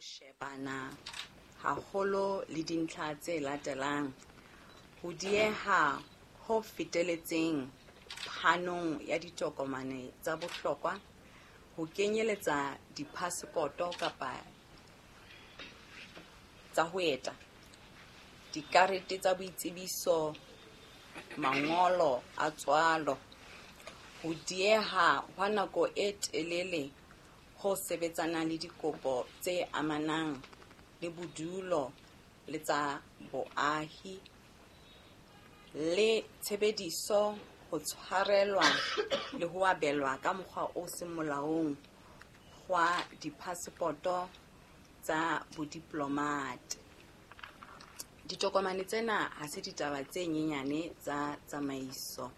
Shebana haholo le dintlha tse latelang: ho dieha ho feteletseng phanong ya ditokomane tsa bohlokwa, ho kenyeletsa diphasepoto kapa tsa ho eta, dikarete tsa boitsebiso, mangolo a tswalo, ho dieha hwa nako e telele ho sebetsanang le dikopo tse amanang le bodulo le tsa boahi, le tshebediso, ho tshwarelwa le ho abelwa ka mokgwa o seng molaong hwa diphasepoto tsa bodiplomate. Ditokomane tsena ha se ditaba tse nyenyane tsa tsamaiso.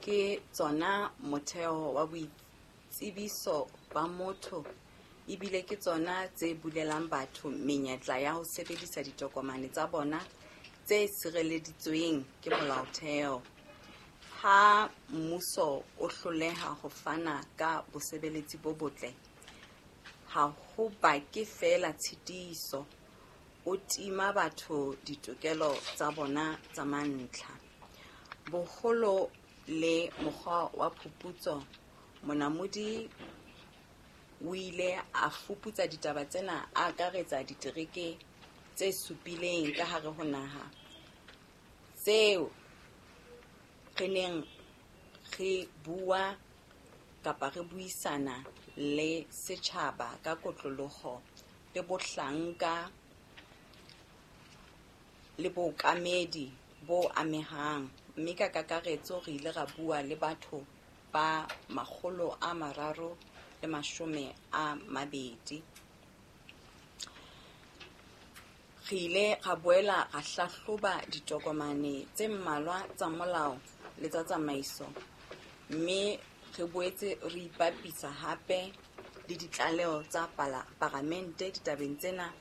Ke tsona motheo wa boitsebiso ba motho ebile ke tsona tse bulelang batho menyetla ya ho sebedisa ditokomane tsa bona tse sireleditsweng ke molaotheo. Ha mmuso o hloleha ho fana ka bosebeletsi bo botle, ha ho bake feela tshitiso, o tima batho ditokelo tsa bona tsa mantlha. Boholo le mokgwa wa phuputso. Monamodi o ile a fuputsa ditaba tsena a akaretsa ditereke tse supileng ka hare ho naha tseo re neng re bua kapa re buisana le setjhaba ka kotloloho le bohlanka le bookamedi bo amehang, mme ka kakaretso re ile ra bua le batho ba 320. Re ile ra boela ra hlahloba ditokomane tse mmalwa tsa molao le tsa tsamaiso mme re boetse re ipapisa hape le ditlaleho tsa Palamente ditabeng tsena,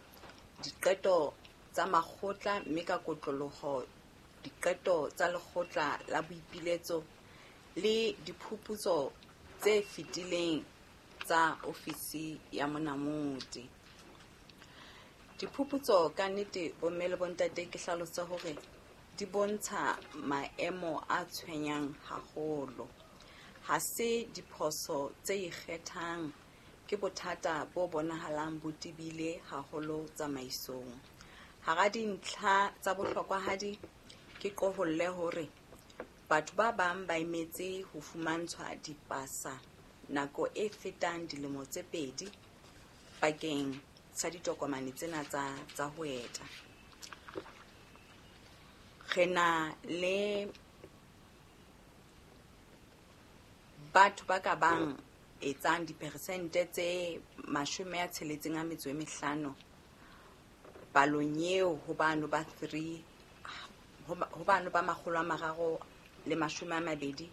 diqeto tsa makgotla mme ka kotloloho diqeto tsa Lekgotla la Boipiletso le diphuputso tse fetileng tsa Ofisi ya Monamodi. Diphuputso ka nnete, bomme le bontate, ke hlalose hore di bontsha maemo a tshwenyang haholo. Ha se diphoso tse ikgethang, ke bothata bo bonahalang bo tebile haholo tsamaisong. Hara dintlha tsa bohlokwahadi, ke qoholle hore batho ba bang ba emetse ho fumantshwa dipasa nako e fetang dilemo tse 2 bakeng sa ditokomane tsena tsa ho eta. Re na le batho ba ka bang etsang diperesente tse 65 palong eo ho bano ba 3 ho bano ba 320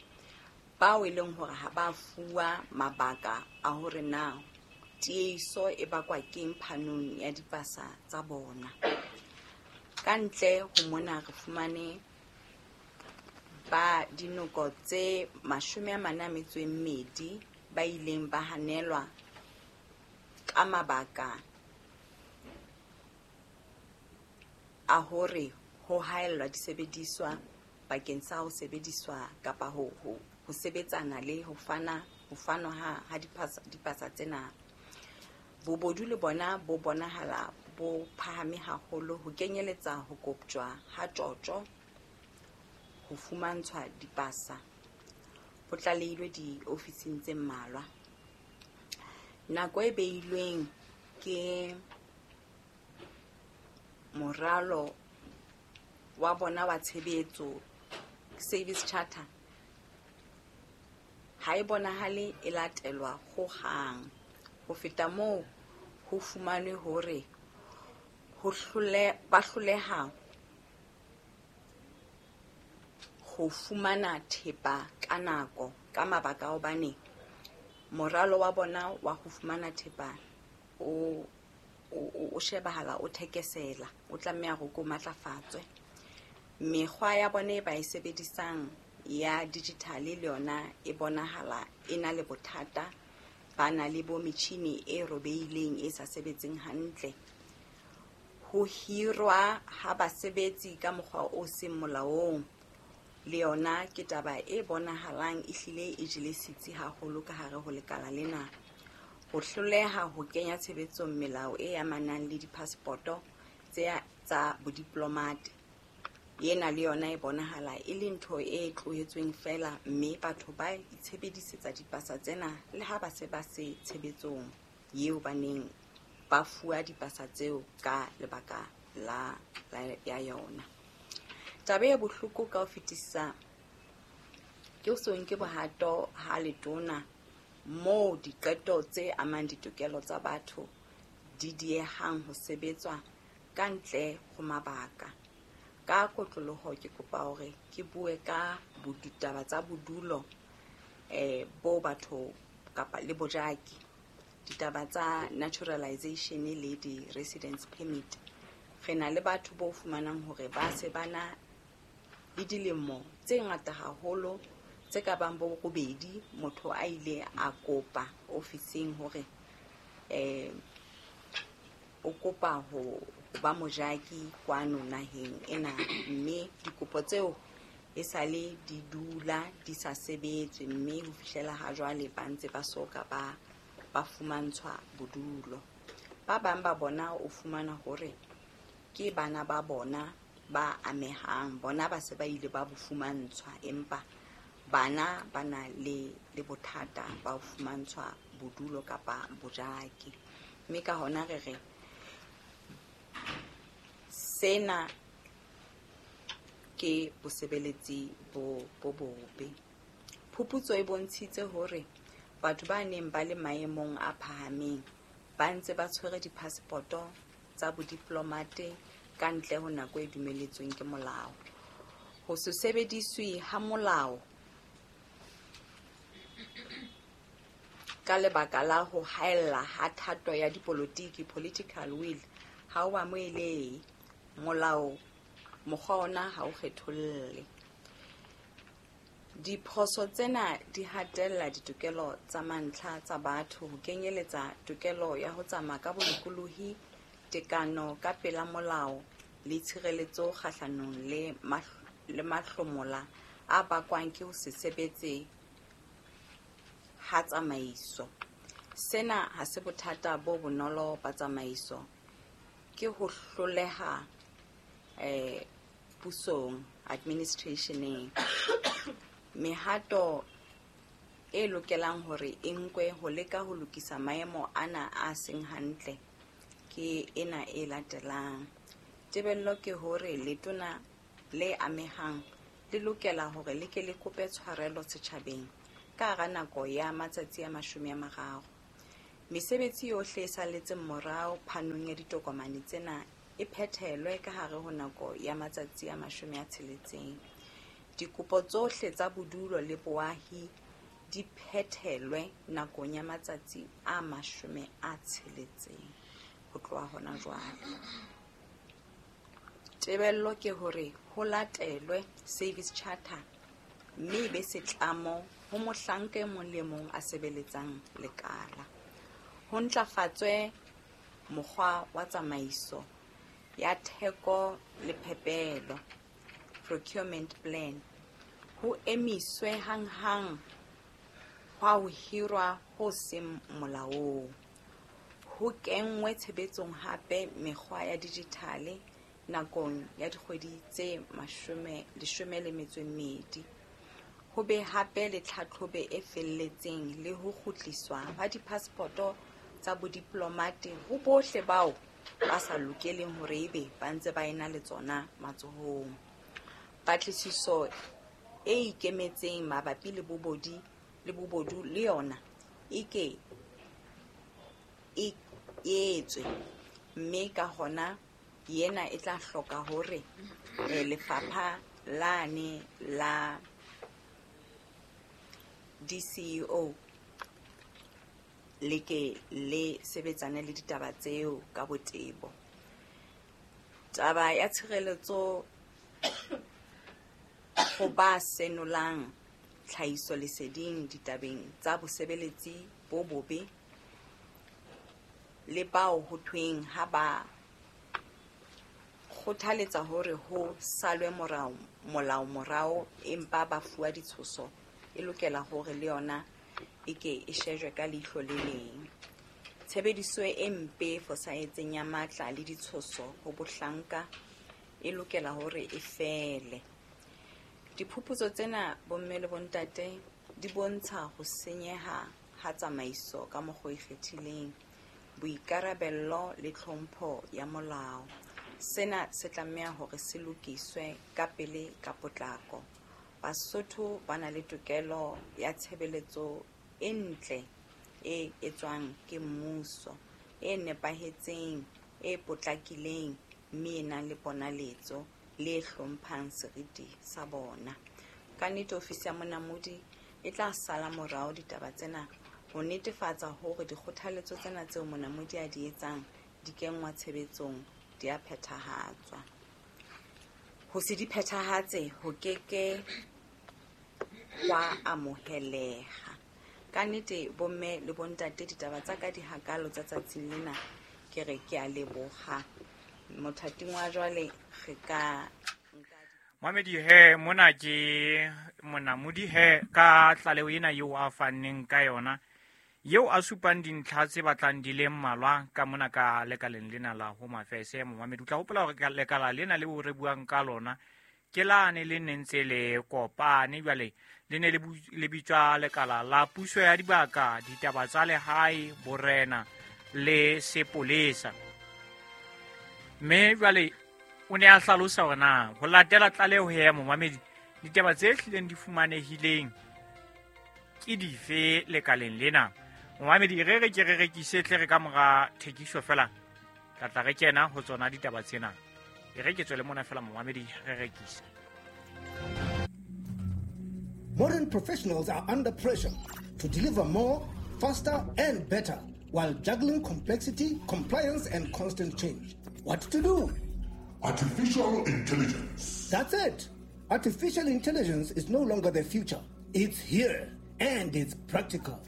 bao e leng hore ha ba fuwa mabaka a hore na tiehiso e bakwa keng phanong ya dipasa tsa bona. Ka ntle ho mona re fumane ba dinoko tse 42 ba ileng ba hanelwa ka mabaka a hore ho haellwa disebediswa bakeng sa ho sebediswa kapa ho sebetsana le ho fanwa ha dipasa tsena. Bobodu le bona bo bonahala bo phahame haholo ho kenyeletsa ho koptjwa ha tjotjo ho fumantshwa dipasa ho tlalehilwe diofising tse mmalwa. Nako e beilweng ke moralo wa bona wa tshebetso, service charter, ha e bonahale e latelwa hohang. Ho feta moo, ho fumanwe hore ba hloleha ho fumana thepa ka nako ka mabaka a hobane moralo wa bona wa ho fumana thepa o shebahala o thekesela, o tlameha hore ko matlafatswe. Mekgwa ya bona e ba e sebedisang ya digital le yona e bonahala e na le bothata ba na le bo metjhini e robehileng e sa sebetseng hantle. Ho hirwa ha basebetsi ka mokgwa o seng molaong le yona ke taba e bonahalang e hlile e jele setsi haholo ka hare ho lekala lena. Ho hloleha ho kenya tshebetsong melao e amanang le diphasepoto tsa bodiplomate, ena le yona e bonahala e le ntho e tlohetsweng feela, mme batho ba itshebedisetsa dipasa tsena le ha ba se ba se tshebetsong eo ba neng ba fuwa dipasa tseo ka lebaka la ya yona. Taba e bohloko ka ho fetisisa ke ho se nke bohato ha letona moo diqeto tse amang ditokelo tsa batho di diehang ho sebetswa ka ntle ho mabaka. Ka kotloloho ke kopa hore ke bue ka ditaba tsa bodulo bo batho kapa le bojaki, ditaba tsa naturalization le di-residence permit. Re na le batho bo fumanang hore ba se ba na le dilemo tse ngata haholo tse ka bang bo robedi, motho a ile a kopa ofising hore o kopa ho ba mojaki kwano naheng ena, mme dikopo tseo e sale di dula di sa sebetswe, mme ho fihlela ha jwale ba ntse ba soka ba fumantshwa bodulo. Ba bang ba bona o fumana hore ke bana ba bona ba amehang, bona ba se ba ile ba bo fumantshwa, empa bana ba na le bothata ba ho fumantshwa bodulo kapa bojaki. Mme ka hona re re sena ke bosebeletsi bo bobe. Phuputso e bontshitse hore batho ba neng ba le maemong a phahameng ba ntse ba tshwere diphasepoto tsa bodiplomate ka ntle ho nako e dumeletsweng ke molao. Ho se sebediswe ha molao ka lebaka la ho haella ha thato ya dipolotiki, political will, ha o amohelehe. Molao mokgwa ona ha o kgetholle. Diphoso tsena di hatella ditokelo tsa mantlha tsa batho, ho kenyeletsa tokelo ya ho tsamaya ka bolokolohi, tekano ka pela molao le tshireletso kgahlanong le mahlomola a bakwang ke ho se sebetse ha tsamaiso. Sena ha se bothata bo bonolo ba tsamaiso, ke ho hloleha pusong, administrationeng. Mehato e lokelang hore e nkwe ho leka ho lokisa maemo ana a seng hantle ke ena e latelang. Tebello ke hore letona le amehang le lokela hore le ke le kope tshwarelo setjhabeng ka hara nako ya matsatsi a 30. Mesebetsi yohle e salletseng morao phanong ya ditokomane tsena e phethelwe ka hare ho nako ya matsatsi a 60. Dikopo tsohle tsa bodulo le boahi di phethelwe nakong ya matsatsi a 60 ho tloha hona jwale. Tebello ke hore ho latelwe service charter mme e be setlamo ho mohlanka e mong le mong a sebeletsang lekala. Ho ntlafatswe mokgwa wa tsamaiso ya theko le phepelo, procurement plan. Ho emiswe hanghang hwa ho hirwa ho seng molaong. Ho kenngwe tshebetsong hape mekgwa ya dijithale nakong ya dikgwedi tse 12. Ho be hape le tlhatlhobo e felletseng le ho kgutliswa ha diphasepoto tsa bodiplomate ho bohle bao ba sa lokeleng hore ebe ba ntse ba ena le tsona matsohong. Patlisiso e ikemetseng mabapi le bobodu le yona e ke e etswe, mme ka hona yena e tla hloka hore lefapha lane la DCEO le ke le sebetsane le ditaba tseo ka botebo. Taba ya tshireletso ho ba senolang tlhahisoleseding ditabeng tsa bosebeletsi bo bobe le bao ho thweng ha ba kgothaletsa hore ho salwe molao morao empa ba fuwa ditshoso e lokela hore le yona e ke e shejwe ka leihlo le leng. Tshebediso e mpe e fosahetseng ya matla le ditshoso ho bohlanka e lokela hore e fele. Diphuputso tsena bomme le bontate di bontsha ho senyeha ha tsamaiso ka mokgwa o ikgethileng, boikarabello le tlhompho ya molao. Sena se tlameha hore se lokiswe ka pele ka potlako. Basotho ba na le tokelo ya tshebeletso e ntle e etswang ke mmuso, e nepahetseng, e potlakileng, mme e nang le ponaletso le hlomphang seriti sa bona. Ka nnete ofisi ya Monamodi e tla sala morao ditaba tsena ho netefatsa hore dikgothaletso tsena tseo Monamodi a di etsang di kenngwa tshebetsong, di a phethahatswa. Ho se di phethahatse ho keke hwa amoheleha. Ka nnete bomme le bontate ditaba tsa ka di hakalo tsa tsatsing lena, ke re ke a leboha. Mothating wa jwale re ka Mamedi he mona ke Monamodi he ka tlaleho ena eo a fanneng ka yona, eo a supang dintlha tse batlang di le mmalwa ka mona ka lekaleng lena la Home Affairs. Momamedi o tla hopola hore lekala lena leo re buang ka lona ke lane le neng ntse le kopane jwale le ne le bitswa lekala la puso ya dibaka, ditaba tsa lehae, borena le sepolesa. Mme jwale o ne a hlalosa hore na ho latela tlaleho ya momamedi ditaba tse hlileng di fumanehileng ke dife lekaleng lena. Momamedi re re ke re rekise tle re ka mora thekiso fela tla tla re kena ho tsona ditaba tsena. E re ke tswele mona fela momamedi re rekise. Modern professionals are under pressure to deliver more, faster and better while juggling complexity, compliance and constant change. What to do? Artificial intelligence. That's it. Artificial intelligence is no longer the future. It's here and it's practical.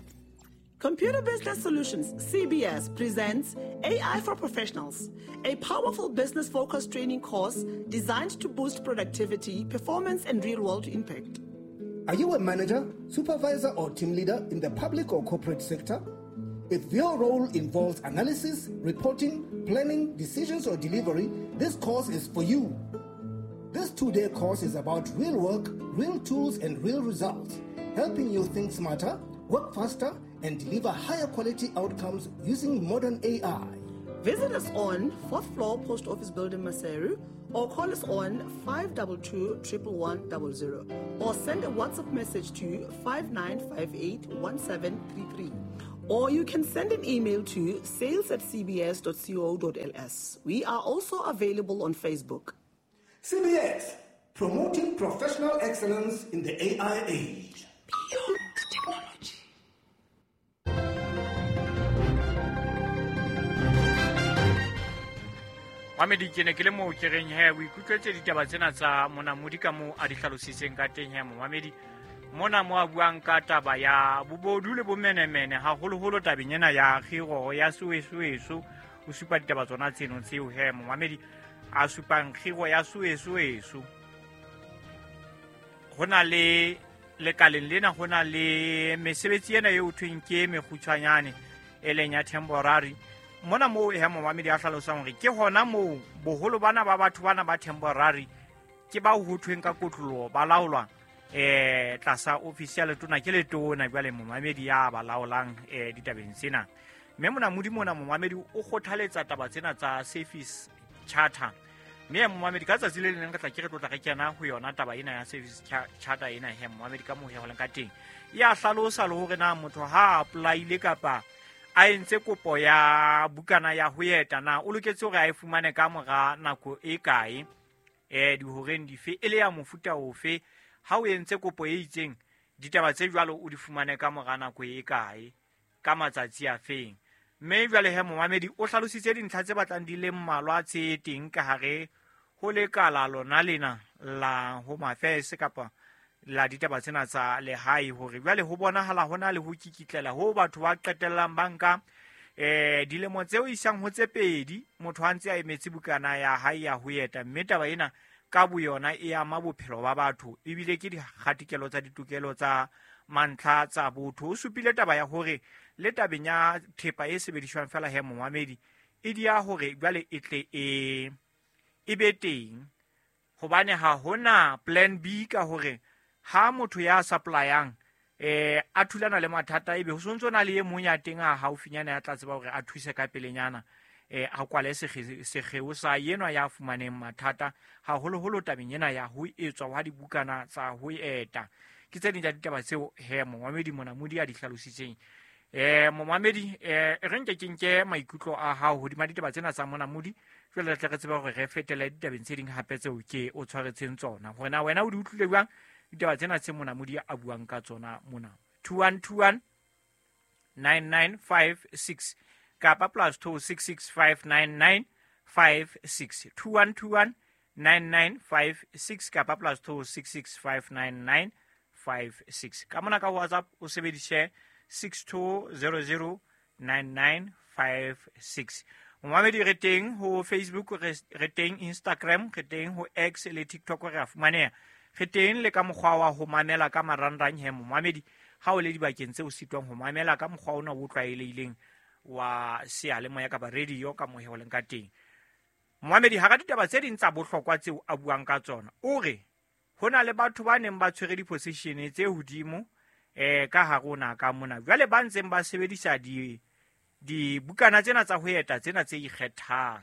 Computer Business Solutions, CBS, presents AI for Professionals, a powerful business-focused training course designed to boost productivity, performance, and real-world impact. Are you a manager, supervisor, or team leader in the public or corporate sector? If your role involves analysis, reporting, planning, decisions, or delivery, this course is for you. This 2-day course is about real work, real tools, and real results, helping you think smarter, work faster, and deliver higher quality outcomes using modern AI. Visit us on 4th floor Post Office Building, Maseru, or call us on 522 11100, or send a WhatsApp message to 5958 1733. Or you can send an email to sales@cbs.co.ls. We are also available on Facebook. CBS, promoting professional excellence in the AI age. Beyond technology. Mamedi ke ne ke le moo ke reng he o ikutlwetse ditaba tsena tsa Monamodi ka moo a di hlalositseng ka teng he momamedi. Mona mo a buang ka taba ya bobodu le bomenemene haholoholo tabeng ena ya kgiro ya soesoeso. O supa ditaba tsona tseno tseo he momamedi a supang kgiro ya soesoeso. Ho na le lekaleng lena ho na le mesebetsi ena eo thweng ke mekgutshwanyane e leng ya temporary. Mona moo he momamedi a hlalosang hore ke hona moo boholo bana ba batho bana ba temporary ke bao ho thweng ka kotloloho ba laolwa tlasa ofisi ya letona ke letona jwale momamedi ya ba laolang ditabeng tsena. Mme Monamodi mona momamedi o kgothaletsa taba tsena tsa service charter. Mme momamedi ka tsatsi le leng re tla ke re tlotla re kena ho yona taba ena ya service charter ena he momamedi ka moo he ho leng ka teng. Ya hlalosa le hore na motho ha apply-ile kapa a entse kopo ya bukana ya ho eta na o loketse hore a e fumane ka mora nako e kae, dihoreng dife, e le ya mofuta ofe. Ha o entse kopo e itseng ditaba tse jwalo o di fumane ka mora nako e kae, ka matsatsi a feng. Mme jwale he momamedi o hlalositse dintlha tse batlang di le mmalwa tse teng ka hare ho lekala lona lena la Home Affairs kapa La ditaba tsena tsa lehae hore jwale ho bonahala hona le ho kikitlela ho batho ba qetellang banka dilemo tseo isang ho tse pedi motho a ntse a emetse bukana ya hae ya ho eta, mme taba ena ka boyona e ama bophelo ba batho ebile ke dikgatikelo tsa ditokelo tsa mantlha tsa botho. O supile taba ya hore le tabeng ya thepa e sebediswang fela he momamedi e dia hore jwale e tle e be teng, hobane ha hona plan B ka hore ha motho ya supplyang a thulana le mathata ebe ho sontso na le e mong ya teng a haufinyana ya tla tseba hore a thuse ka pelenyana a kwale sekgeo sa yenwa ya fumaneng mathata haholoholo tabeng ena ya ho etswa ha dibukana tsa ho eta. Ke tse ding tsa ditaba tseo he momamedi Monamodi a di hlalositseng. Momamedi re nke ke nke maikutlo a hao hodima ditaba tsena tsa Monamodi, jwale re tle re tsebe hore re fetele ditabeng tse ding hape tseo ke o tshwaretseng tsona. Hore na wena o di utlwile jwang ditaba tsena tse Monamodi a buang ka tsona mona. 2121 9956 kapa +266 599 56 2121 9956 kapa +266 599 56. Ka mona ka WhatsApp o sebedise 6200 9956. Momamedi re teng ho Facebook, re teng Instagram, re teng ho X le TikTok re a fumaneha. Re teng le ka mokgwa wa ho mamela ka marangrang he momamedi ha o le dibakeng tse o sitwang ho mamela ka mokgwa ona o tlwaelehileng wa seyalemoya kapa radio ka mohe o leng ka teng. Momamedi hara ditaba tse ding tsa bohlokwa tseo a buang ka tsona, o re ho na le batho ba neng ba tshwere di-position tse hodimo ka hare ho naha ka mona, jwale ba ntseng ba sebedisa dibukana tsena tsa ho eta tsena tse ikgethang.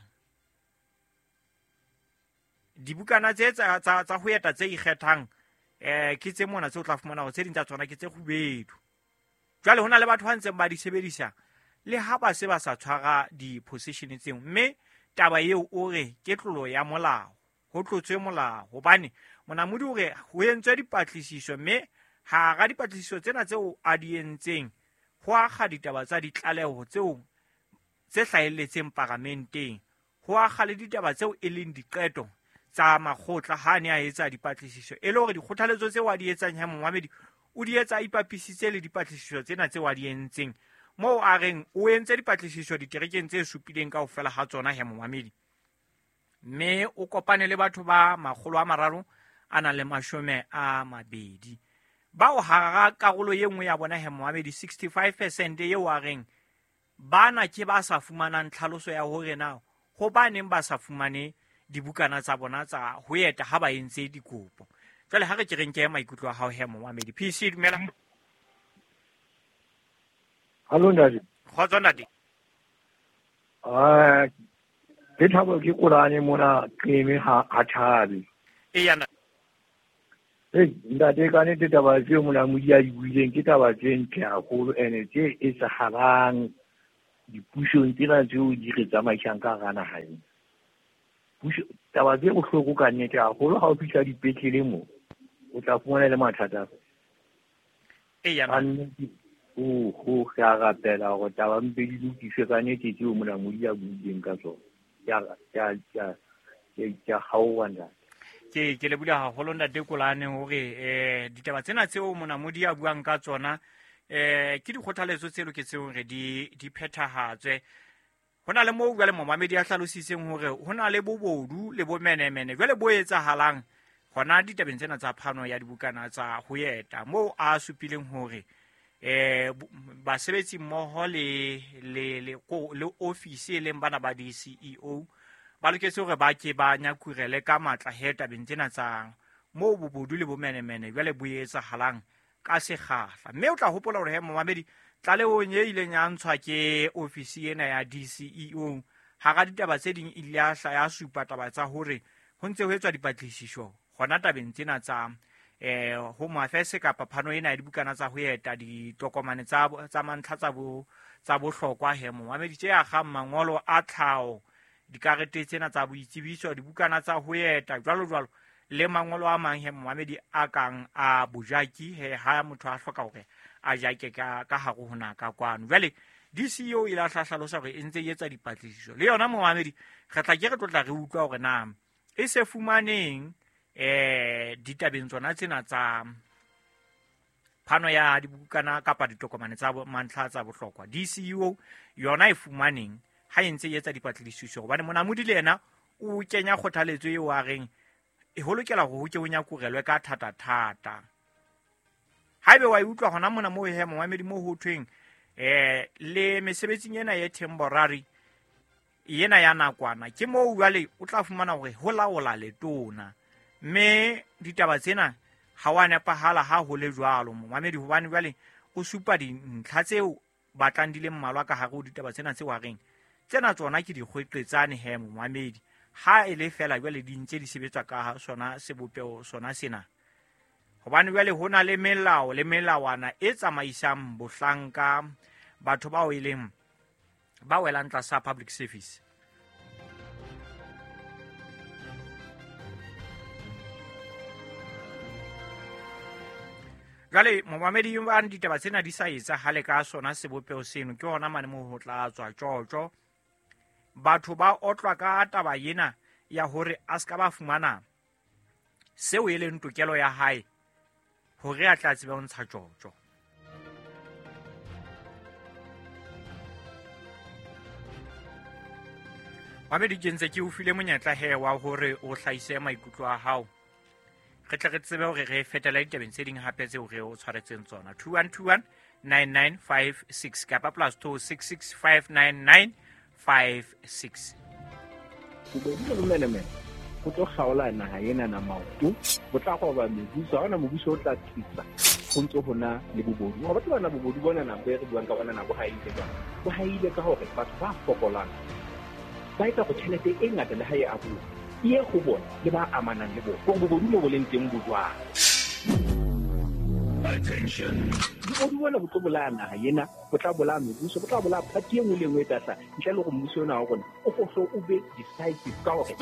Dibukana tse tsa ho eta tse ikgethang ke tse mona tse o tla fumana hore tse ding tsa tsona ke tse kgubedu. Jwale ho na le batho ba ntseng ba di sebedisa le ha ba se ba sa tshwara di-position tseo, mme taba eo o re ke tlolo ya molao, ho tlotswe molao, hobane Monamodi o re ho entswe dipatlisiso, mme hara dipatlisiso tsena tseo a di entseng ho akga ditaba tsa ditlaleho tseo tse hlahelletseng paramenteng, ho akga le ditaba tseo e leng diqeto tsa makgotla ha ne a etsa dipatlisiso, e le hore dikgothaletso tseo a di etsang ha momamedi o di etsa a ipapisitse le dipatlisiso tsena tseo a di entseng, moo a reng o entse dipatlisiso diterekeng tse supileng kaofela ha tsona he momamedi, mme o kopane le batho ba 320 bao hara karolo ye nngwe ya bona he momamedi 65% eo a reng bana ke ba sa fumanang tlhaloso ya hore na hobaneng ba sa fumane dibukana tsa bona tsa ho eta ha ba entse dikopo. Jwale ha re ke re nke maikutlo a hao he momamedi. PC dumela. Hallo ntate. Kgotso ntate. Ke thabo ke kolane mona qeme ha thabe. Eya ntate. Ntate ka nnete taba tseo Monamodi a di buileng ke taba tse ntle haholo ene tse etsahalang dipusong tsena tseo di re tsamaisang ka hara naha ena. Puso taba tse bohloko ka nnete haholo ha o fihla dipetlele mo o tla fumana le mathata. Eya ntate. Ho ke a rapela hore taba mpe di lokiswe ka nnete tseo Monamodi a buileng ka tsona. Ke a kgaoha ntate. Ke le bula haholo ntate Kolane hore ditaba tsena tseo Monamodi a buang ka tsona ke dikgothaletso tse loketseng hore di phethahatswe. Ho na le moo jwale momamedi a hlalositseng hore ho na le bobodu le bomenemene jwale bo etsahalang hona ditabeng tsena tsa phano ya dibukana tsa ho eta, moo a supileng hore basebetsi mmoho le ofisi e leng bana ba di-CEO ba loketse hore ba ke ba nyakurele ka matla he tabeng tsena tsa moo bobodu le bomenemene jwale bo etsahalang ka sekgahla. Mme o tla hopola hore he momamedi tlalehong e ileng ya ntshwa ke ofisi ena ya DCEO hara ditaba tse ding ile ya hla ya supa taba tsa hore ho ntse ho etswa dipatlisiso hona tabeng tsena tsa Home Affairs kapa phano ena ya dibukana tsa ho eta, ditokomane tsa mantlha tsa bohlokwa he momamedi tse akgang mangolo a tlhaho, dikarete tsena tsa boitsebiso, dibukana tsa ho eta jwalo jwalo, le mangolo a mang he momamedi a kang a bojaki he ha motho a hloka hore a jake ka hare ho naha ka kwano. Jwale DCEO ile a hlalosa hore e ntse e etsa dipatlisiso le yona momamedi, re tla ke re tlotla re utlwa hore na e se fumaneng ditabeng tsona tsena tsa Phano ya dibukana kapa ditokomane tsa mantlha tsa bohlokwa DCU yona e fumaneng ha e ntse e etsa dipatlisiso hobane Monamodi le yena o kenya kgothaletso eo a reng e ho lokela hore ho ke ho nyakurelwe ka thata-thata. Haebe wa e utlwa hona mona moo he momamedi moo ho thweng le mesebetsing ena ya temporary ena ya nakwana ke moo jwale o tla fumana hore ho laola letona mme ditaba tsena ha wa nepahala ha ho le jwalo momamedi hobane jwale o supa dintlha tseo batlang di le mmalwa ka hare ho ditaba tsena tse wa reng tsena tsona ke dikgweqetsane he momamedi ha e le fela jwale di ntse di sebetswa ka sona sebopeho sona sena hobane jwale ho na le melao le melawana e tsamaisang bohlanka batho bao e leng ba welang tlasa public service. Jwale momamedi ba ditaba tsena di sa etsahale ka sona sebopeho seno ke hona mane moo ho tla tswa tjotjo. Batho ba otlwa ka taba ena ya hore a ska ba fumana seo e leng tokelo ya hae hore a tla tsebe ho ntsha tjotjo. Mamedi ke ntse ke o file monyetla he wa hore o hlahise maikutlo a hao re tle re tsebe hore re fetela ditabeng tse ding hape tseo re o tshwaretseng tsona. 2121 9956 kapa +266 599 56. Bobodu le bomenemene go tlo kgaola naha ena na maoto, bo tla roba mebuso, ha hona mobuso o tla tsitsa go ntse ho na le bobodu. Ga batho bana bobodu bona na bo re buang ka bona na bo haile jwang? Bo haile ka hore batho ba fokolang ba etsa go tjhelete e ngata le ha e abuwa e ye go bona le ba amanang le bona. Gore bobodu mo bo leng teng bo jwang? Attention. Bobodu bona bo tlo bolaya naha ena, bo tla bolaya mebuso, bo tla bolaya party e nngwe le e nngwe e tla hlaha ntle le hore mmuso ona wa rona o fohle o be decisive ka hore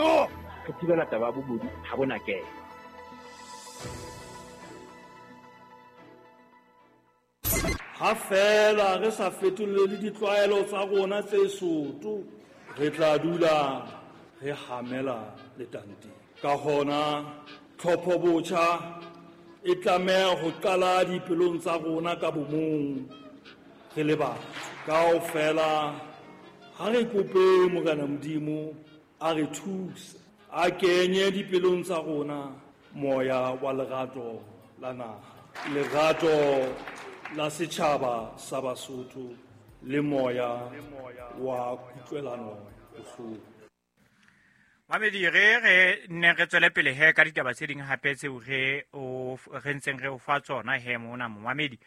re thibela taba ya bobodu ha bona kena. Ha fela re sa fetolele ditlwaelo tsa rona tse soto, re tla dula re hamela letanteng. Ka hona tlhopho botjha e tlameha ho qala dipelong tsa rona ka bomong re le batho. Kaofela ha re kope Morena Modimo a re thuse, a kenye dipelong tsa rona moya wa lerato la naha, lerato la setjhaba sa Basotho le moya wa kutlwelano bohloko. Mamedi re ne re tswele pele he ka ditaba tse ding hape tseo re ntseng re o fa tsona he mona momamedi.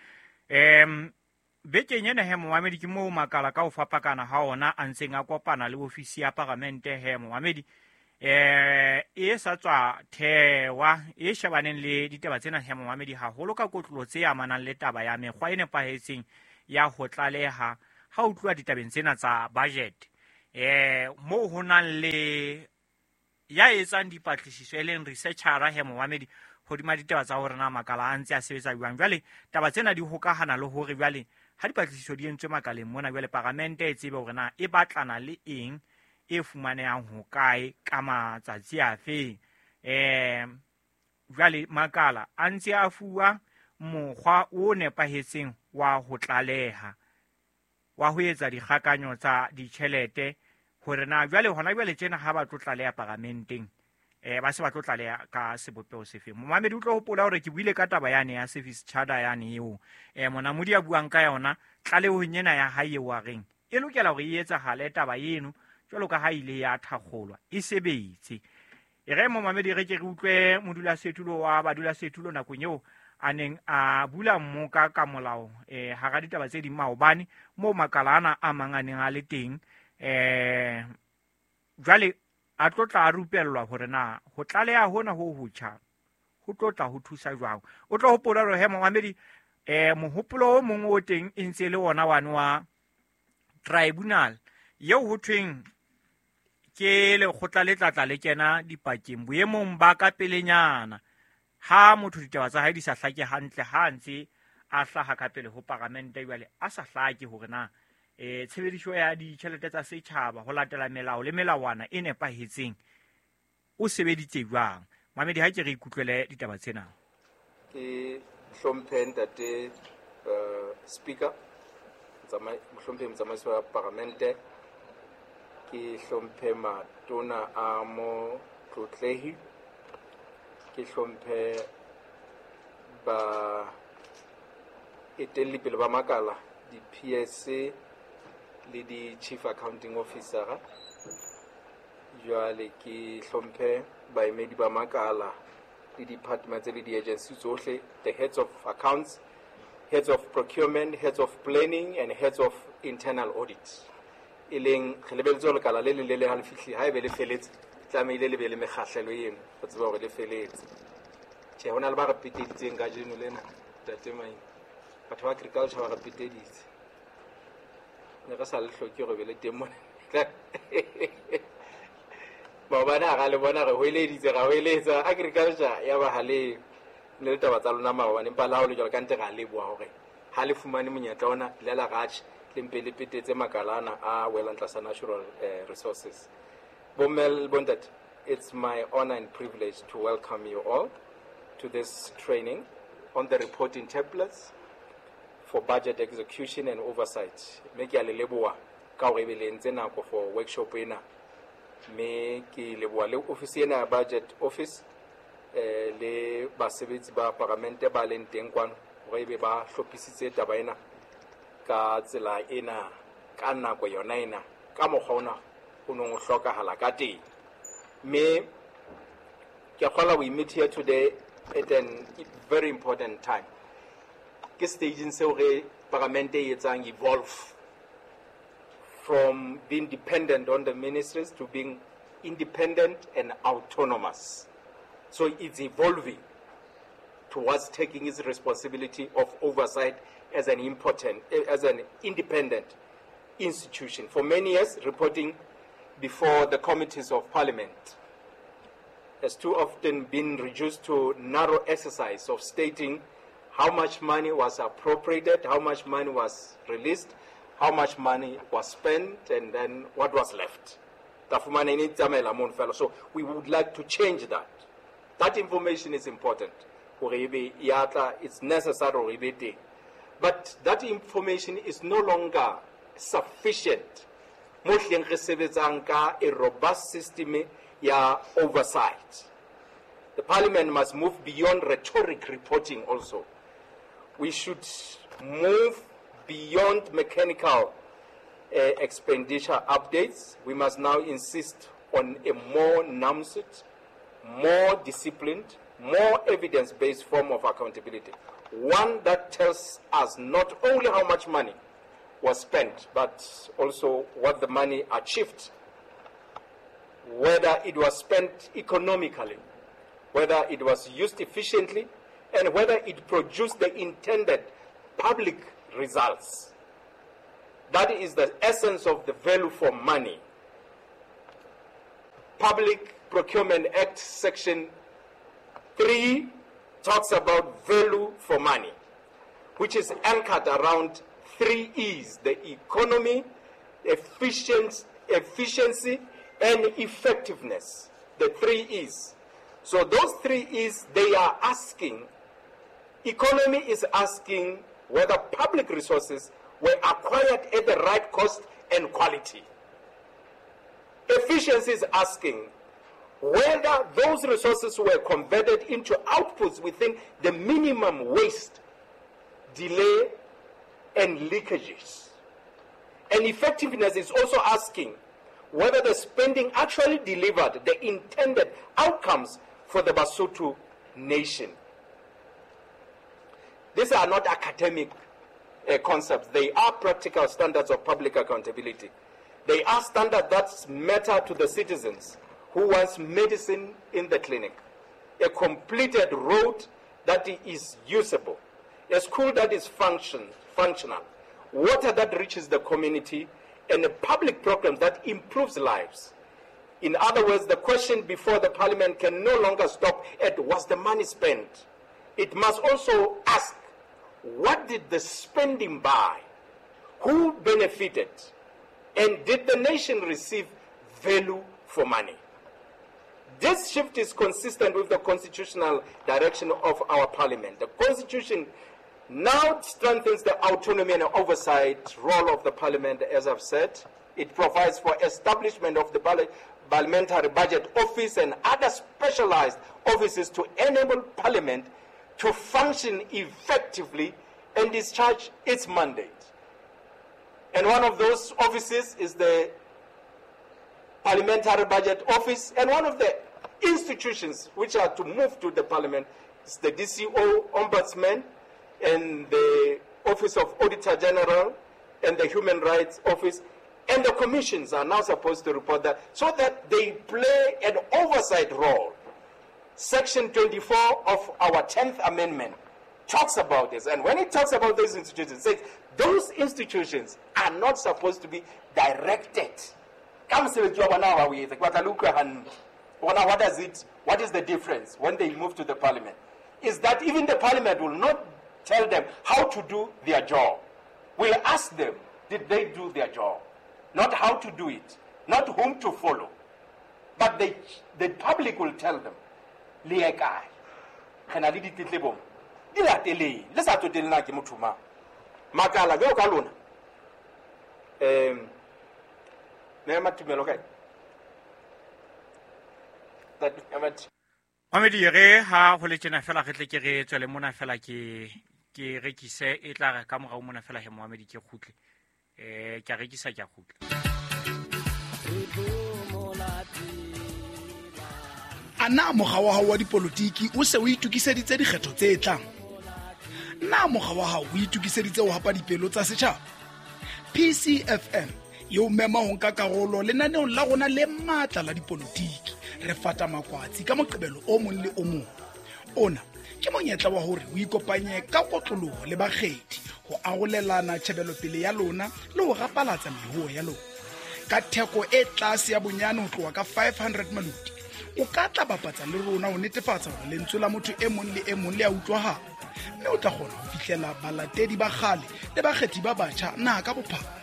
Bekeng ena he momamedi ke moo makala ka ho fapakana ha ona a ntseng a kopana le ofisi ya paramente he momamedi. E sa tswa thewa e shebaneng le ditaba tsena he momamedi haholo ka kotlolo tse amanang le taba ya mekgwa e nepahetseng ya ho tlaleha ha o tluwa ditabeng tsena tsa budget. Moo ho nang le ya etsang dipatlisiso e leng researcher he momamedi hodima ditaba tsa hore na makala a ntse a sebetsa jwang. Jwale taba tsena di hokahana le hore jwale ha dipatlisiso di entswe makaleng mona jwale paramente e tsebe hore na e batlana le eng e fumanehang hokae ka matsatsi afe. Jwale makala a ntse a fuwa mokgwa o nepahetseng wa ho tlaleha wa ho etsa dikgakanyo tsa ditjhelete hore na jwale hona jwale tjena ha ba tlo tlaleha paramenteng ba se ba tlo tlaleha ka sebopeho sefe. Momamedi o tlo hopola hore ke buile ka taba yane ya service charter yane eo Monamodi a buang ka yona tlalehong ena ya hae eo a reng e lokela hore e etsahale taba eno jwalo ka ha ile ya thakgolwa e sebetse. E re momamedi re ke re utlwe modulasetulo wa badulasetulo nakong eo a neng a bula mmoka ka molao hara ditaba tse ding maobane moo makala ana a mang a neng a le teng. Jwale a tlo tla rupellwa hore na ho tlaleha hona ho hotjha ho tlo tla ho thusa jwang. O tlo hopola hore he momamedi mohopolo o mong o teng e ntse le ona wane wa tribunal eo ho thweng ke lekgotla le tlatla le kena dipakeng boemong ba ka pelenyana ha motho ditaba tsa hae di sa hlake hantle ha ntse a hlaha ka pele ho paramente jwale a sa hlake hore na tshebediso ya ditjhelete tsa setjhaba ho latela melao le melawana e nepahetseng o sebeditse jwang. Mamedi ha ke re ikutlwele ditaba tsena. Ke Hlomphe ntate Speaker, mohlomphe motsamaisi wa Paramente, ke hlomphe matona a motlotlehi, ke hlomphe ba etellipele ba makala, di-PSC le di-Chief Accounting Officer. Jwale ke hlomphe baemedi ba makala le departments le di-agency tsohle, the heads of accounts, heads of procurement, heads of planning and heads of internal audit. E leng re lebeletse hore lekala le leng le leng ha le fihle, ha ebe le feletse, tlamehile le be le mekgahlelo eno ho tseba hore le feletse. Tjhe, hona le ba re peteditseng kajeno lena, ntate Maine. Batho ba agriculture ba re peteditse. Ne re sa le hloke hore be le teng mona. Maobane ha ra le bona re hoeleditse, ra hoeletsa agriculture ya ba ha le ne le taba tsa lona maobane, empa le ha ho le jwalo ka ntle ra leboha hore ha le fumane monyetla ona le la ratjhe le mpe le petetse makalana a welang tlasa natural resources. Bomme le bontate, it's my honor and privilege to welcome you all to this training on the reporting templates for budget execution and oversight. Mme ke a le leboha ka hore ebe le entse nako for workshop ena. Mme ke leboha le office ena ya budget office le basebetsi ba paramente ba leng teng kwano hore ebe ba hlophisitse taba ena ka tsela ena, ka nako yona ena, ka mokgwa ona o nong o hlokahala ka teng. Mme ke a kgolwa we meet here today at an very important time. Ke stageng seo re paramente e etsang evolve from being dependent on the ministries to being independent and autonomous. So it's evolving towards taking its responsibility of oversight as an important, as an independent institution. For many years, reporting before the committees of parliament has too often been reduced to narrow exercise of stating how much money was appropriated, how much money was released, how much money was spent, and then what was left. So we would like to change that. That information is important. It's necessary. But that information is no longer sufficient. A robust system ya oversight. The parliament must move beyond rhetoric reporting also. We should move beyond mechanical expenditure updates. We must now insist on a more nuanced, more disciplined, more evidence-based form of accountability. One that tells us not only how much money was spent, but also what the money achieved, whether it was spent economically, whether it was used efficiently, and whether it produced the intended public results. That is the essence of the value for money. Public Procurement Act Section 3 talks about value for money, which is anchored around 3 E's: the economy, efficiency, and effectiveness. The 3 E's. So those 3 E's, they are asking, economy is asking whether public resources were acquired at the right cost and quality. Efficiency is asking whether those resources were converted into outputs within the minimum waste, delay, and leakages. And effectiveness is also asking whether the spending actually delivered the intended outcomes for the Basotho nation. These are not academic concepts. They are practical standards of public accountability. They are standards that matter to the citizens who wants medicine in the clinic, a completed road that is usable, a school that is functional, water that reaches the community, and a public program that improves lives. In other words, the question before the parliament can no longer stop at was the money spent? It must also ask, what did the spending buy? Who benefited? And did the nation receive value for money? This shift is consistent with the constitutional direction of our parliament. The constitution now strengthens the autonomy and oversight role of the parliament, as I've said. It provides for establishment of the parliamentary budget office and other specialized offices to enable parliament to function effectively and discharge its mandate. And one of those offices is the Parliamentary Budget Office, and one of the institutions which are to move to the parliament is the DCO Ombudsman and the Office of Auditor General and the Human Rights Office, and the commissions are now supposed to report that so that they play an oversight role. Section 24 of our 10th Amendment talks about this, and when it talks about those institutions, it says those institutions are not supposed to be directed. What is the difference when they move to the parliament? Is that even the parliament will not tell them how to do their job. We'll ask them, did they do their job? Not how to do it, not whom to follow. But the public will tell them, le kae? Re na le ditletlebo. Di lateleng, le sa tsotelle na ke motho mang. Makala jwalo ka lona. Mamedi re ha ho le tjena fela re tle ke re tswele mona fela ke rekise e tla re ka morao mona fela he Mohamedi ke kgutle. Ke a rekisa ke a kgutla. A na mokga wa hao wa dipolotiki o se o itokiseditse dikgetho tse tlang? Na mokga wa hao o itokiseditse ho hapa dipelo tsa setjhaba? PCFM e o mema ho nka karolo lenaneong la rona le matla la dipolotiki. Re fata makwatsi ka Moqebelo o mong le o mong. Ona ke monyetla wa hore o ikopanye ka kotloloho le bakgethi ho arolelana tjhebelopele ya lona le ho rapalatsa mehuo ya lona. Ka theko e tlase ya bonyane ho tloha ka 500 maloti, o ka tla bapatsa le rona ho netefatsa hore lentswe la motho e mong le e mong le a utlwahala, mme o tla kgona ho fihlela balatedi ba kgale le bakgethi ba batjha naha ka bophara.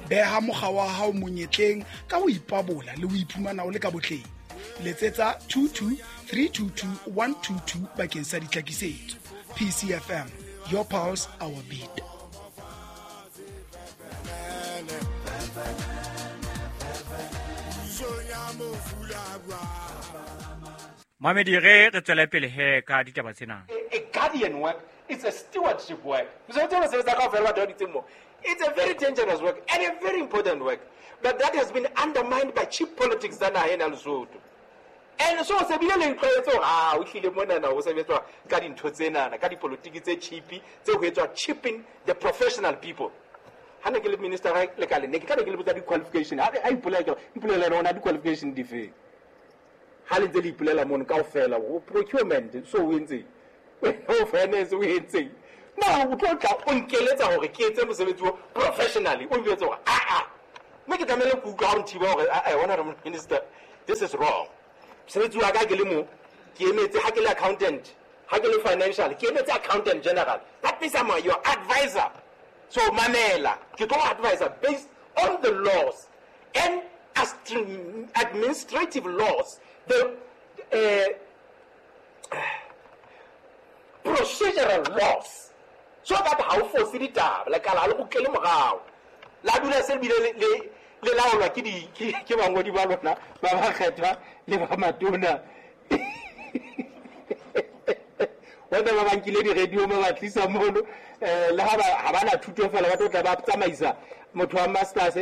Beha mokga wa hao monyetleng ka ho ipabola le ho iphumana o le ka botleng. Letsetsa 22 322 122 bakeng sa ditlhakisetso. PCFM, your pulse, our beat. Mamedi re tswele pele he ka ditaba tsena. A guardian work is a stewardship work. It's a very dangerous work and a very important work. But that has been undermined by cheap politics tsa naha ena Lesotho. And so se bile le ntlwaetse hore o hlile monana ho sebetswa ka dintho tsenana, ka dipolotiki tse cheap, tse ho etswa cheaping the professional people. Ha ne ke le minister lekaleng, ne ke tla be ke le botsa di-qualification. Ha a ipolela, ipolela yona di-qualification di fe. Ha le ntse le ipolela mono kaofela, ho procurement so o entseng, ho finance o entseng. Na o tlo tla o nkeletsa hore ke etse mosebetsi o professionally, o njwetse hore a mme ke tlamehile ke utlwa ha o nthiba hore a honorable minister, this is wrong. Mosebetsi wa ka ke le mo, ke emetse ha ke le accountant, ha ke le financial, ke emetse accountant general. That means I'm your advisor. So mamela, ke tlo advisor based on the laws and administrative laws, the procedural laws, so that ha o fose ditaba lekala le kgutlele morao la dula se bile le laolwa ke di ke bangodi ba lona ba bakgethwa le ba matona. Wena ba bankile di-radio ba ba tlisa mono, le ha ba na thuto fela, ba tlo tla ba tsamaisa motho wa masters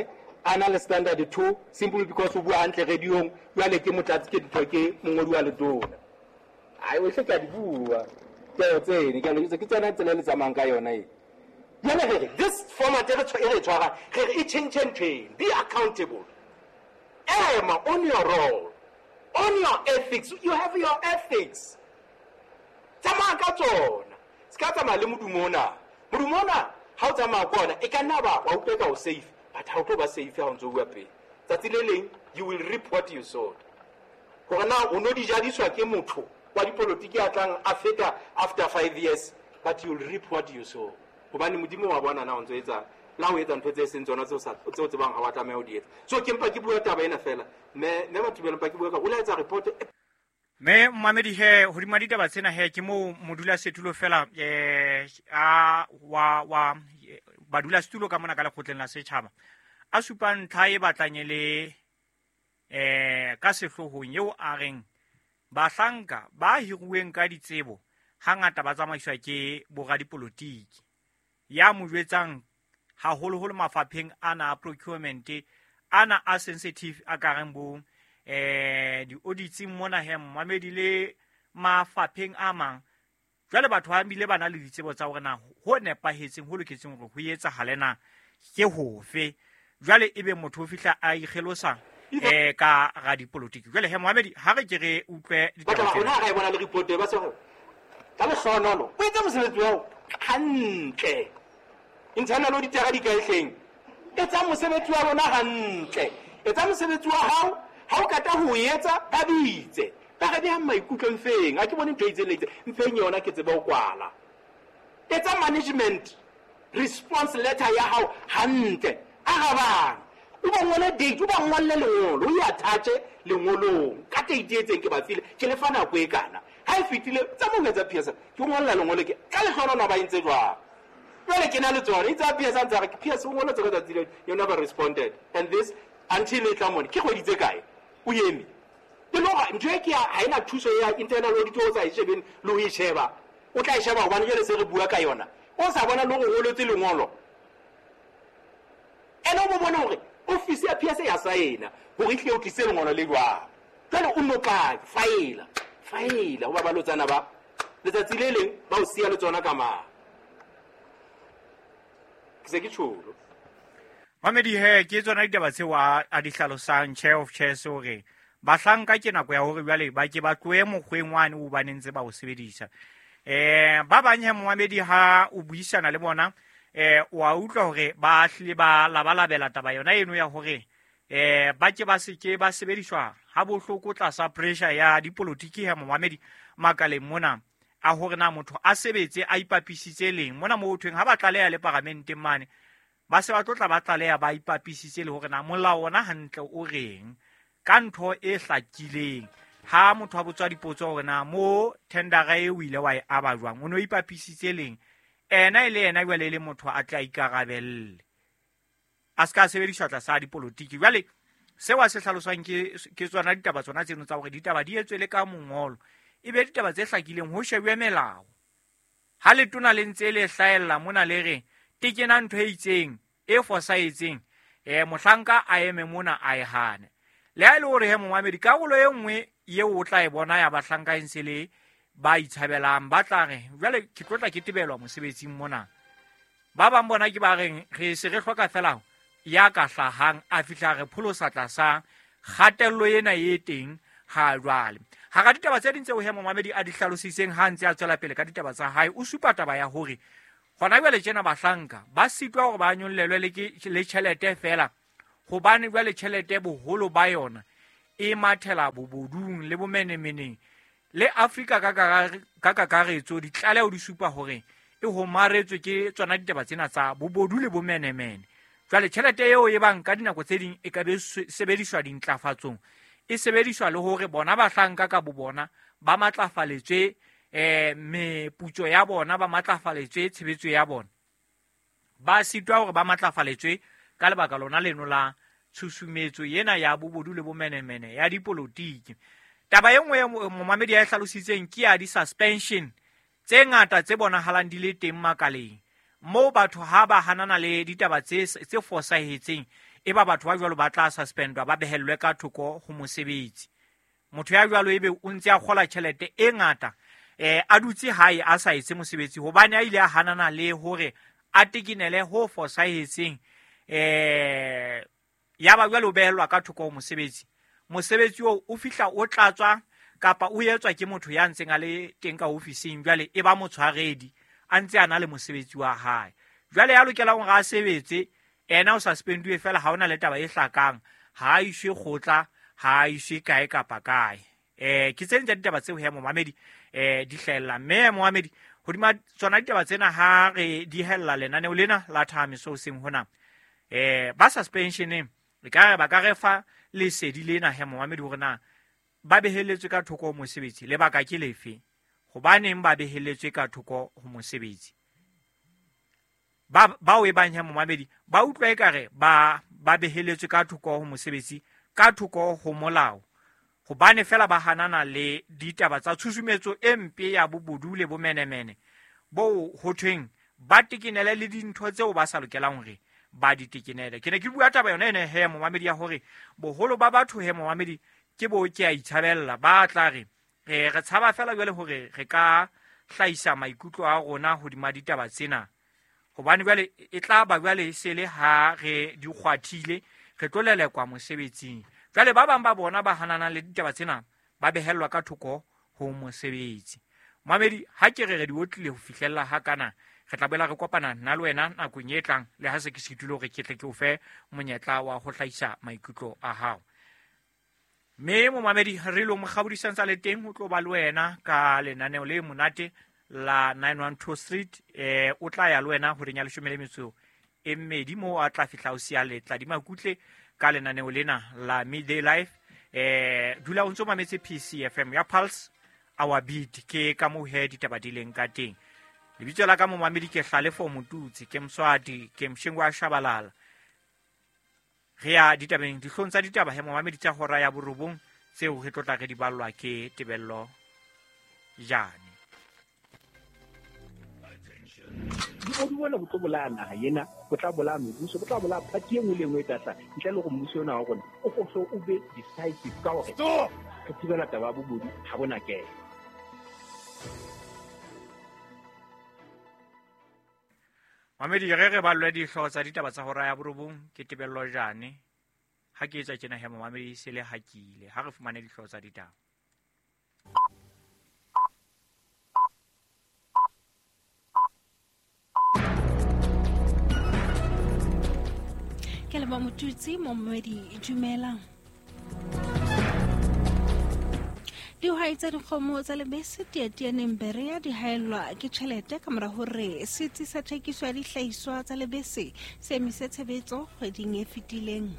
a na le standard 2 simply because o bua hantle radiong, jwale ke motlatsi ke ntho ke mongodi wa letona. Ai o hle ke a di bua ke tsene ke a ke tsena tsela le tsamayang ka yona e. Jwale re re this format e re tshwara, re re e change ntho, be accountable. Ema on your role, on your ethics. You have your ethics. Tsamaya ka tsona, se ka tsamaya le modumo ona. Modumo ona ha o tsamaya ko ona e ka nna ba wa utlwa ka o safe, but ha o tlo ba safe ha o ntso bua pele. Tsatsi le leng you will reap what you sowed. Hore na o no di jadiswa ke motho wa dipolotiki a tlang a feta after 5 years, but you will reap what you sow. Hobane Modimo wa bona na o ntso etsa La ho etsa ntho tse seng tsona tseo o tsebang ha wa tlameha ho di etsa. So ke mpa ke bua taba ena fela. Mme Mathibela mpa ke bua ka o la etsa report. Mme momamedi he hodima ditaba tsena he ke moo modulasetulo fela a wa badulasetulo ka mona ka lekgotleng la setjhaba a supa ntlha e batlang e le ka sehloohong eo a reng bahlanka ba hiruweng ka ditsebo hangata ba tsamaiswa ke boradipolotiki ya mo jwetsang haholoholo mafapheng ana a procurement ana a sensitive a kareng bo di-audits mona he momamedi le mafapheng a mang. Jwale batho ba bile ba na le ditsebo tsa hore na ho nepahetseng ho loketseng hore ho etsahale na ke hofe. Jwale ebe motho o fihla a ikgelosa ka radipolotiki. Jwale he momamedi ha re ke re utlwe ditaba tsena. Rona ra e bona le report ba se ka lehlohonolo o etsa mosebetsi wa hao hantle. Internal auditor di kae hleng? Etsa mosebetsi wa lona hantle. Etsa mosebetsi wa hao, ha o kata ho etsa ba bitse. Ba re behang maikutlo mfeng, ha ke bone ntho e itseng le itseng, mfeng yona ke tsebe ho kwala. Etsa management response letter ya hao hantle. Arabang. O ba ngole date, o ba ngolle lengolo, o e attach lengolong. Ka date e itseng ke ba file, ke le fa nako e kana. Ha e fetile, tsa mo etsa PS, ke ngolla lengolo ke ka lehlohonolo ba entse jwang. Jwale ke na le tsona, itse PS a ntse a re PS o ngoletse ka tsatsi leo, you never responded. And this until e tla mone, ke kgwedi tse kae? O eme. Ke le hore ntho e ke ha ena thuso ya internal audit o sa e shebeng le ho e sheba. O tla e sheba hobane jwale se re bua ka yona. O sa bona le hore o ngoletse lengolo. Ene o bo bone hore office ya PS ya saena hore e tle o tlise lengolo le jwang. Jwale o no kae? Faela. Faela ho ba balotsana ba. Letsatsi le leng ba o siya le tsona ka mang. Ke se ke tjholo. Mamedi he ke tsona ditaba tseo a di hlalosang chair of chairs hore bahlanka ke nako ya hore jwale ba ke ba tlohe mokgweng wane o ba nentse ba o sebedisa. Ba bang he momamedi ha o buisana le bona o a utlwa hore ba hlile ba labalabela taba yona eno ya hore ba ke ba se ke ba sebediswa ha bohloko tlasa pressure ya dipolotiki he momamedi makaleng mona a hore na motho a sebetse a ipapisitse leng mona mo thweng ha ba tlaleha le paramenteng mane ba se ba tlotla ba tlaleha ba ipapisitse le hore na molao ona hantle o reng ka ntho e hlakileng. Ha motho a botswa dipotso hore na mo tendera e o ile wa e aba jwang o no ipapisitse leng ena e le ena jwale e le motho a tla ikarabelle a se ka sebediswa tlasa dipolotiki. Jwale seo a se hlaloswang ke tsona ditaba tsona tseno tsa hore ditaba di etswe le ka mongolo e be ditaba tse hlakileng ho shebwe melao. Ha letona le ntse le hlahella mona le re tekena ntho e itseng e fosahetseng mohlanka a eme mona a e hane. Le ha e le hore he momamedi karolo e nngwe eo o tla e bona ya bahlanka e ntse le ba itshabelang ba tla re jwale ke tlotla ke tebelwa mosebetsing mona. Ba bang bona ke ba reng re se re hloka fela ya ka hlahang a fihla re pholosa tlasa kgatello ena e teng ha jwale. Hara ditaba tse ding tseo he momamedi a di hlalositseng ha ntse a tswela pele ka ditaba tsa hae o supa taba ya hore hona jwale tjena bahlanka ba sitwa hore ba nyollelwe le tjhelete fela hobane jwale tjhelete boholo ba yona e mathela bobodung le bomenemeneng le Afrika ka kakaretso. Ditlaleho di supa hore e homaretswe ke tsona ditaba tsena tsa bobodu le bomenemene. Jwale tjhelete eo e bang ka dinako tse ding e ka be sebediswa dintlafatsong e sebediswa le hore bona bahlanka ka bo bona ba matlafaletswe meputso ya bona ba matlafaletswe tshebetso ya bona ba sitwa hore ba matlafaletswe ka lebaka lona leno la tshusumetso ena ya bobodu le bomenemene ya dipolotiki. Taba e nngwe momamedi ya e hlalositseng ke ya di-suspension tse ngata tse bonahalang di le teng makaleng moo batho ha ba hanana le ditaba tse fosahetseng e ba batho ba jwalo ba tla suspendwa ba behellwe ka thoko ho mosebetsi. Motho ya jwalo ebe o ntse a kgola tjhelete e ngata a dutse hae a sa etse mosebetsi hobane a ile a hanana le hore a tekenele ho fosahetseng ya ba jwale o behellwa ka thoko ho mosebetsi. Mosebetsi oo o fihla o tlatswa kapa o etswa ke motho ya ntseng a le teng ka ofising jwale e ba motshwaredi a ntse a na le mosebetsi wa hae. Jwale ya lokelang hore a sebetse ena o suspenduwe fela ha ona le taba e hlakang ha a iswe kgotla ha a iswe kae kapa kae. Ke tse ding tsa ditaba tseo he momamedi di hlahella. Mme momamedi Hodima tsona ditaba tsena ha re dihella lenaneo lena la thahamiso hoseng hona, ba suspensioneng re ka re ba ka re fa lesedi lena he momamedi hore na ba beheletswe ka thoko ho mosebetsi, lebaka ke lefe, hobaneng ba beheletswe ka thoko ho mosebetsi. Bao e bang he momamedi ba utlwa ekare ba beheletswe ka thoko ho mosebetsi, ka thoko ho molao, hobane fela ba hanana le ditaba tsa tshusumetso e mpe ya bobodu le bomenemene bo ho thweng ba tekenele le dintho tseo ba sa lokelang hore ba di tekenele. Ke ne ke bua taba yona ene he momamedi ya hore boholo ba batho he momamedi ke bo ke a itshabella, ba tla re re tshaba fela jwale hore re ka hlahisa maikutlo a rona hodima ditaba tsena, hobane jwale e tla ba jwale se le ha re di kgwathile re tlo lelekwa mosebetsing. Jwale ba bang ba bona ba hananang le ditaba tsena ba behellwa ka thoko ho mosebetsi. Mamedi, ha ke re re di otlile ho fihlella ha kana, re tla boela re kopana nna le wena nakong e tlang, le ha se ke sitile hore ke tle ke o fe monyetla wa ho hlahisa maikutlo a hao. Mme momamedi, re lo mokgabodisang tsa le teng ho tlo ba le wena ka lenaneo le monate la 912 Street. O tla ya le wena horeng ya 12 moo a tla fihla o siya letla di makutle ka lenaneo lena la Midday Life. Dula o ntso mametse PCFM ya Pulse Our Beat, ke ka moo he ditaba di leng ka teng. Lebitso la ka momamedi ke Hlalefo Motutsi, ke Mswati, ke Mshengwa wa Shabalala. Re ya ditabeng, dihlong tsa ditaba he momamedi tsa hora ya 9 tseo re tlotla re di ballwa ke Tebello Jane. Bobodu bona bo tlo bolaya naha ena, bo tla bolaya mebuso, bo tla bolaya party e nngwe le e nngwe e tla hlaha, ntle le hore mmuso ona wa rona o so o be decisive ka hore re thibela taba ya bobodu ha bona kelo. Mamedi, re re ballwe dihlooho tsa ditaba tsa hora ya 9 ke Tebello Jane. Ha ke etsa tjena he momamedi se le hakile, ha re fumane dihlooho tsa ditaba. Ke leboha Motutsi, momamedi dumela. Dihwai tsa dikgomo tsa lebese Teatianeng Berea di haellwa ke tjhelete ka mora hore setsi sa thekiso ya dihlahiswa tsa lebese se emise tshebetso kgweding e fetileng.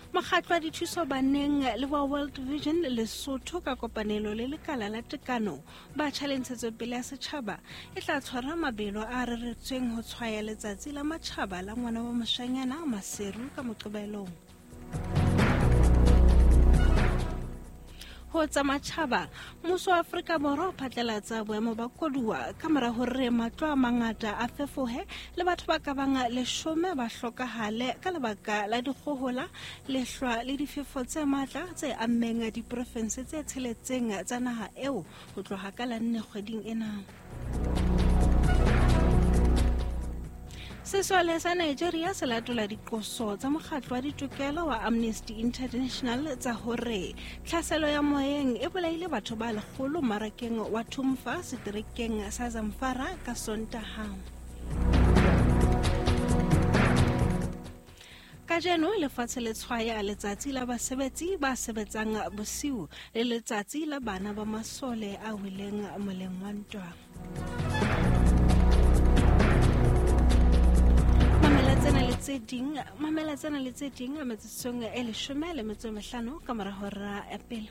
Mokgatlo wa dithuso baneng le wa World Vision Lesotho ka kopanelo le lekala la tekano batjha le ntshetsopele ya setjhaba e tla tshwara mabelo a reretsweng ho tshwaya letsatsi la matjhaba la ngwana wa moshanyana Maseru ka Moqebelong. Ho tsa matjhaba, mmuso wa Afrika Borwa o phatlalatsa boemo ba koduwa ka mora hore matlo a mangata a fefohe le batho ba ka bang 10 ba hlokahale ka lebaka la dikgohola, lehlwa le difefo tse matla tse ammeng diprofense tse 6 tsa naha eo ho tloha ka la 4 kgweding ena. Sesole sa Nigeria se latola diqoso tsa mokgatlo wa ditokelo wa Amnesty International tsa hore tlhaselo ya moyeng e bolaile batho ba 100 marakeng wa Tumfa seterekeng sa Zamfara ka Sontaha. Kajeno lefatshe le tshwaya letsatsi la basebetsi ba sebetsang bosiu le letsatsi la bana ba masole a weleng moleng wa ntwa. Mamela tsena le tse ding metsotsong e 15 ka mora hora ya pele.